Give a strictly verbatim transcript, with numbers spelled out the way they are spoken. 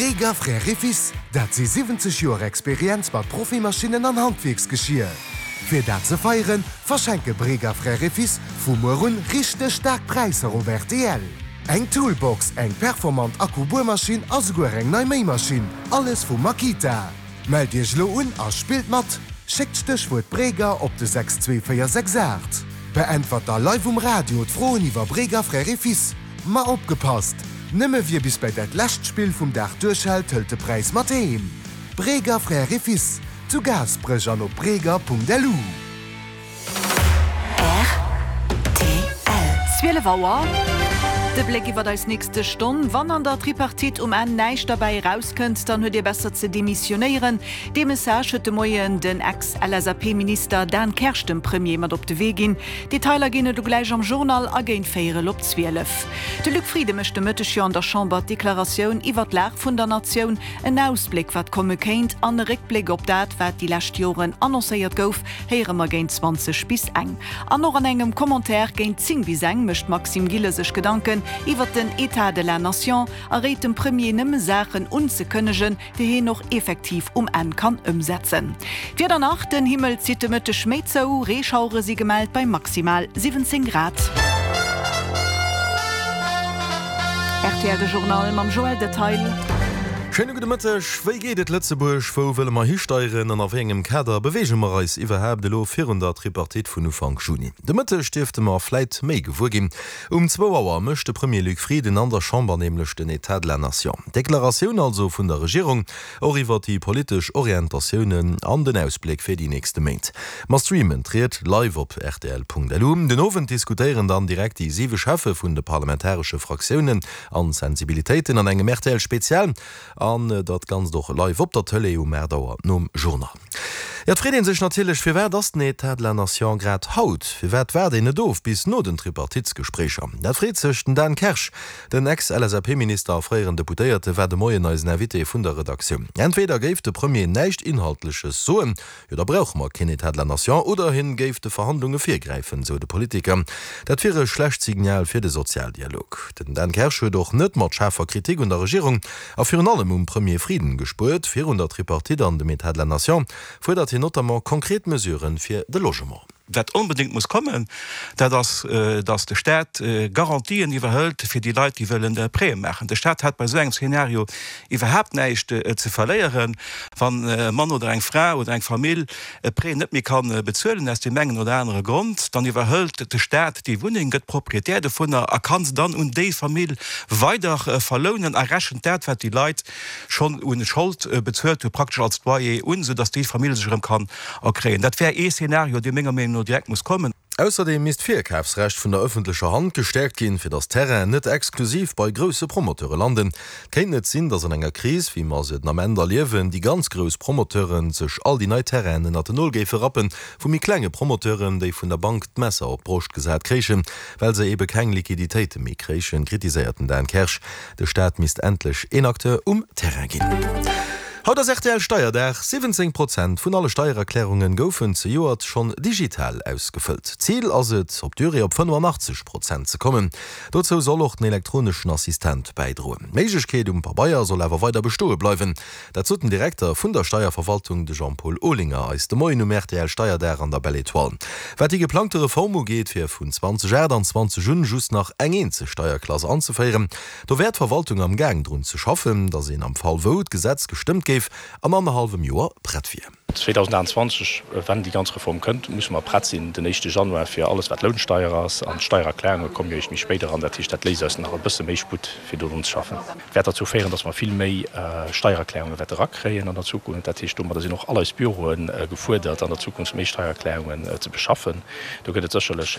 Breger Frères et Fils, dat si siwwenzeg Joer Experienz mat Profimaschinnen an Handwierksgeschier. Fir dat ze feieren, verschenke Breger Frères et Fils vu muer un richteg staark Präisser op rtl. Eng Toolbox, eng performant Akku-Buermaschinn a souguer eng nei Méimaschinn, alles vu Makita. Mellt Iech elo un a spillt mat! Schéckt d'Stéchwuert Breger op de sechs zwee véier sechs aacht. Beäntwert da live um Radio d'Froen iwwer Breger Frères et Fils. Ma opgepasst! Nëmme wie bis bei dat lescht Spill vum Dag duerchhält, hëlt de Präis mat heem. Breger Frères et Fils, zu Gaasperech an op breger.lu. Rtl. Zwielef Auer. De Bléck iwwer eis nächste Stonn, Wann an der Tripartite um Enn näischt derbäi erauskënnt, dann huet Dir besser ze demissionéieren. Dee Message huet de Moien den Ex-LSAP-Minister Dan Kersch dem Premier mat op de Wee ginn. Detailer ginn et elo gläich am Journal a géint véierel op zwielef. De Luc Frieden mécht de Mëtteg jo an der Chamber d'Deklaratioun iwwer d'Lag vun der Natioun, en Ausbléck wat komme kéint an e Réckbléck op dat wat déi lescht Joren annoncéiert gouf, héiere mer géint zwanzeg bis eng. An och an engem Commentaire géint zéng bis eng mécht d'Maxime Gilles sech Gedanken iwwer den État de la Nation a réit dem Premier nëmme Saachen unzekënnegen, déi hien och effektiv um Enn kann ëmsetzen. D'Wieder nach, Den Himmel zitt de Mëtteg méi zou, Reeschauere si gemellt bei maximal siwwenzéng Grad. Rtl De Journal mam Joël Detaille. Schéine gudde Mëtteg. Wéi geet et Lëtzebuerg? Wou wëlle mer histeieren an a wéi engem Kader beweege mer eis iwwerhaapt elo virun der Tripartite vun Ufank Juni? De Mëtteg dierfte mer vläit méi gewuer ginn. Um zwou Auer mécht de Premier Luc Frieden an der Chamber nämlech den État de la Nation. D'Deklaratioun also vun der Regierung, och iwwer déi politesch Orientatiounen an den Ausbléck fir déi nächste Méint. Mer streamen d'Ried live op rtl.lu. Den Owend diskutéieren dann direkt déi siwe Cheffe vun de parlamentaresche Fraktiounen an Sensibilitéiten an engem rtl Spezial. An dat Ganzt och live op der Tëlee um aacht Auer nom Journal. Jo, et freet ee sech natierlech, Firwat ass den Etat de la Nation grad haut? Firwat waart een net of bis no den Tripartitesgespréicher? Dat freet sech den Dan Kersch. Den Ex-LSAP-Minister a fréieren Deputéierte war de Moien eisen Invité vun der Redaktioun. Entweder géif de Premier näischt Inhaltleches soen, jo da brauche mer keen Etat de la Nation, oder hien géif de Verhandlunge virgräifen, sou de Politiker. Dat wier e schlecht Signal fir de Sozialdialog. Den Dan Kersch huet och net mat schaarfer Kritik un der Regierung a virun allem um Premier Frieden gespuert. Virun der Tripartite an dem Etat de la Nation fuerdert hien notamment konkret Mesuren fir de Logement. Wat onbedéngt muss kommen, dat ass, datt de Staat Garantien iwwerhëlt fir déi Leit, déi wëllen Prêtë maachen. De Staat hätt bei esou engem Szenario iwwerhaapt näischt ze verléieren, wann e Mann oder eng Fra oder eng Famill e Prêt net méi ka bezuelen, aus deem engen oder anere Grond, dann iwwerhëlt de Staat déi Wunneng, gëtt Proprietär dovunner a ka se dann un déi Famill weider verlounen a rechent dat, wat déi Leit schonn u Schold bezuelt hu, praktesch als Loyer un, soudatt déi Famill sech erëm kann erkréien. Dat wär ee Szenario, dee menger Meenung no direkt muss kommen. Ausserdeem misst d'Virkafsrecht vun der ëffentlecher Hand gestäerkt ginn, fir datt Terrainen net exklusiv bei grousse Promoteure landen. Et kéint net sinn, datt an enger Kris, wéi mer se den Ament erliewen, déi ganz grouss Promoteure sech all déi nei Terrainen ënnert den Nol géife rappen, vu méi klenge Promoteuren, déi vun der Bank d'Messer op d'Broscht gesat kréichen, well se ebe keng Liquiditéite méi kréichen, kritiséiert den Dan Kersch. De Staat misst endlech een Acteur um Terrain ginn. Haut ass rtl Steierdag, siwwenzéng Prozent vun alle Steiererklärunge goufen zejoert schonn digital ausgefëllt. Zil ass et, op d'Durée op fënnefenachtzeg Prozent ze kommen. Dozou soll och den elektroneschen Assistent bäidroen. D'Méiglechkeet um Pabeier soll awer weider bestoe bleiwen. Dat sot den Direkter vun der Steierverwaltung, de Jean-Paul Olinger, eis de Moien um rtl Steierdag an der Belle Etoile. Wat déi geplangte Reform ugeet, fir vun zweedausendachtundzwanzeg un just nach eng eenzeg Steierklass anzeféieren, do wär d'Verwaltung am Gaang drun ze schaffen, datt een am Fall wou d'Gesetz gestëmmt géif, an annerhallwem Joer prett wier. zweedausendachtundzwanzeg, wann déi ganz Reform kënnt, musse mer prett sinn den éischte Januar fir alles wat Lounsteier ass, an d'Steiererklärunge komme jo eréischt méi spéit eran. Dat heescht, dat léisst eis nach e bësse méi Sputt fir do drun ze schaffen. Wäert derzou féieren, datt mer vill méi Steiererklärunge wäerte erakréien an der Zukunft. Dat heescht, domadder sinn och all eis Büroe gefuerdert an der Zukunft méi Steiererklärungen ze beschaffen. Do gëtt et sécherlech